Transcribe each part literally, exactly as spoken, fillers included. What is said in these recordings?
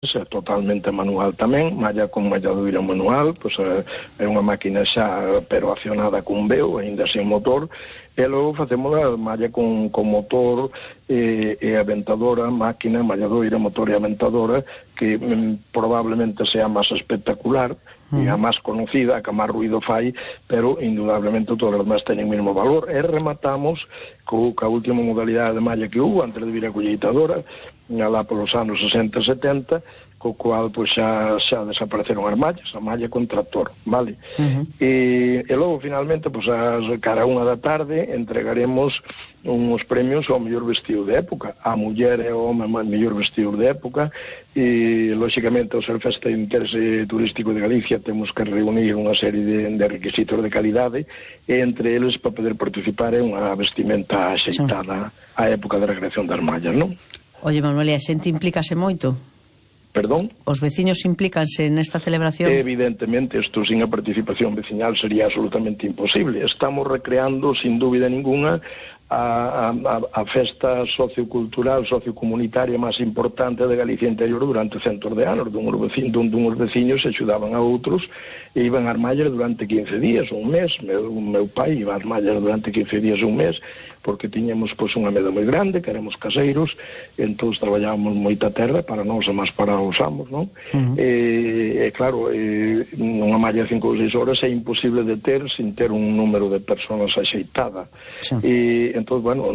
é totalmente manual tamén, malla con malladoira manual, pois é unha máquina xa pero accionada con veo, aínda sen motor, e logo facemos a malla con, con motor e, e aventadora, máquina, malladoira, motor e aventadora, que mm, probablemente sea máis espectacular, e a máis conocida, a que máis ruido fai, pero indudablemente todos os demás teñen o mesmo valor. E rematamos co, ca última modalidade de malla que hubo antes de vir a colleitadora, alá polos anos sesenta e setenta, co cual pois xa, xa desapareceron as mallas, a malla con tractor, vale? Uh-huh. E, e logo finalmente, pois as cara unha da tarde, entregaremos uns premios ao mellor vestido de época, a muller e o home mellor vestido de época, e lóxicamente ao ser festa de interese turístico de Galicia temos que reunir unha serie de, de requisitos de calidade, e entre eles para poder participar é unha vestimenta axeitada á época de recreación das mallas, non? Oye, Manuel, e a xente implícase moito? Perdón? Os veciños implícanse nesta celebración? Evidentemente, isto sin a participación veciñal sería absolutamente imposible. Estamos recreando, sin dúbida ninguna, a, a, a festa sociocultural, sociocomunitaria máis importante de Galicia interior durante centos de anos, dun veciños, dun, dun veciños se axudaban a outros e iban ás mallas durante quince días, un mes. Meu, meu pai iba ás mallas durante quince días, un mes, porque tiñamos pois unha meda moi grande, que éramos caseiros, e entón traballábamos moita terra para nós e máis para os amos, non? Uh-huh. E, e claro, e, unha malla de cinco ou seis horas é imposible de ter sin ter un número de persoas axeitada. Sí. E entón, bueno,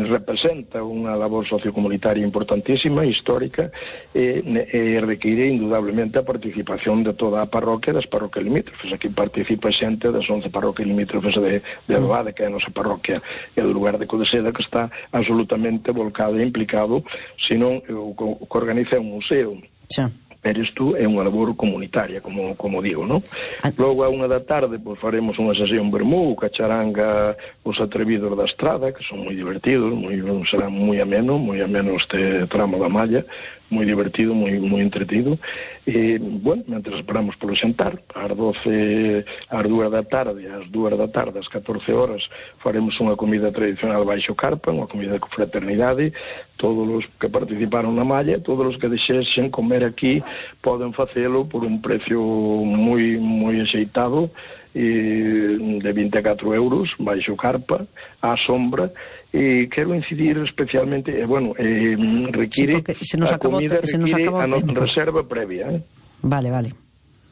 representa unha labor sociocomunitaria importantísima, histórica, e, e require indudablemente a participación de toda a parroquia das parroquias limítrofes. Aquí participa xente das once parroquias limítrofes de, de Adobade, que é a nosa parroquia, e do lugar de Codeseda, que está absolutamente volcado e implicado, senón o que organiza un museo. Sí. Pero isto é unha labor comunitaria, como, como digo, non? Ah. Logo a unha da tarde pois, faremos unha sesión vermú, cacharanga, os atrevidos da estrada, que son moi divertidos, moi, será moi ameno, moi ameno este tramo da malla, moi divertido, moi, moi entretido. E, bueno, mentre esperamos polo xantar, ás doce, ás dúas da tarde, ás dúas da tarde, ás catorce horas, faremos unha comida tradicional baixo carpa, unha comida con fraternidade. Todos os que participaron na malla, todos os que desexen comer aquí, poden facelo por un precio moi, moi axeitado, e de vinte e catro euros, baixo carpa, á sombra. E quero incidir especialmente, eh, bueno, eh, require sí, se nos a comida se nos require a no, tempo. reserva previa, eh? Vale, vale.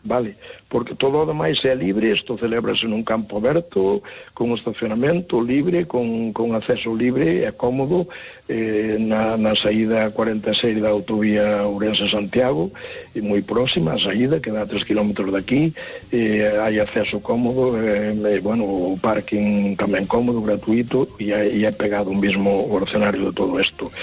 Vale, porque todo o demais é libre, isto celébrase nun campo aberto, con estacionamento libre, con, con acceso libre, é cómodo, eh, na, na saída cuarenta e seis da autovía Ourense-Santiago, e moi próxima a saída, que dá tres kilómetros daqui, eh, hai acceso cómodo, eh, eh, bueno, o parking tamén cómodo, gratuito, e é, e é pegado un mesmo orcenario de todo isto.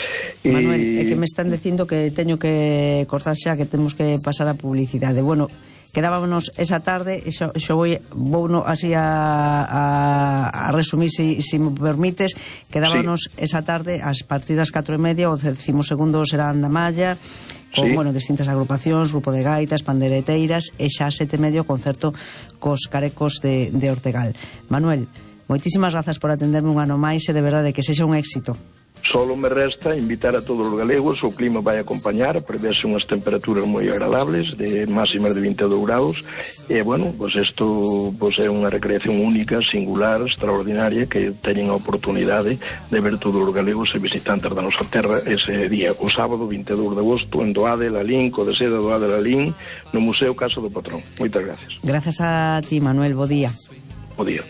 Manuel, é que me están dicindo que teño que cortar xa, que temos que pasar a publicidade. Bueno, quedábamos esa tarde, xo, xo vou, vou no, así a, a, a resumir, si, si me permites, quedábamos sí. esa tarde a partir das catro e media, o decimosegundo será da malla, con, sí. bueno, distintas agrupacións, grupo de gaitas, pandereteiras, e xa a sete e media o concerto cos carecos de, de Ortegal. Manuel, moitísimas grazas por atenderme un ano máis, e de verdade que sexa un éxito. Solo me resta invitar a todos os galegos, o clima vai acompañar, prevese unhas temperaturas moi agradables, de máximas de vinte e dous graus, e, bueno, pois isto pois é unha recreación única, singular, extraordinaria, que teñen a oportunidade de ver todos os galegos e visitantes da nosa terra ese día, o sábado vinte e dous de agosto, en Doade, Lalín, Codeseda, Doade, Lalín, no Museo Casa do Patrón. Moitas gracias. Gracias a ti, Manuel, bo día. Bo día.